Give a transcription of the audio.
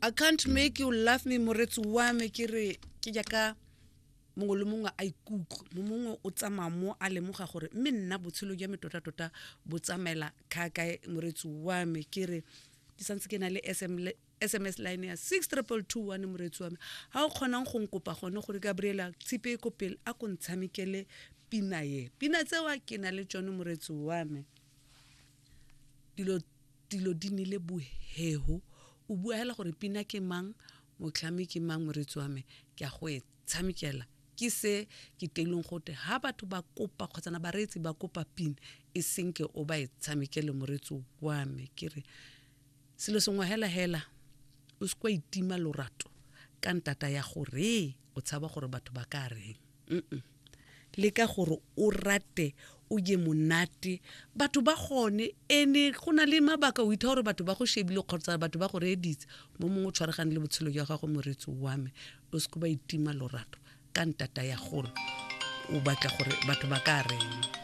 I can't make you love me moretsi wa me ke re ke jaaka mongwe le mongwe a ikutlwe mo mongwe o tsamaya mo a lemoga gore mme nna botshelo jwa me tota-tota bo tsamaela kha kae moretsi wa me ke re ke santse ke na le sms line ya six triple two one moretsi wa me ga o kgonang go nkopa gone gore gabriela tshipe e ko pele a ko ntshamekele pina ye pina tsewa ke na le tsone moretsi wa me dilo dilo di nile boheho o bua hela gore pina ke mang motlhami ke mang moretsi wa me ke a go e tshamekela ke se ke teileng gote ha batho ba kopa kgotsana bareetsi ba kopa pina e senke o ba e tshamekele moretsi wa me ke re selo sengwe hela hela o se kwa itima lorato ka ntata ya gore o tshaba gore batho ba ka reng mm leka gore o rate o je monate batho ba gone ene go na le mabaka o itha gore batho ba go shebile kgotsa batho ba go reeditse mo mongwe o tshwaragane le botshelo jwa gago moretsi wa me o se ba itima lorato ka ntata ya gore o batla gore batho ba ka reng.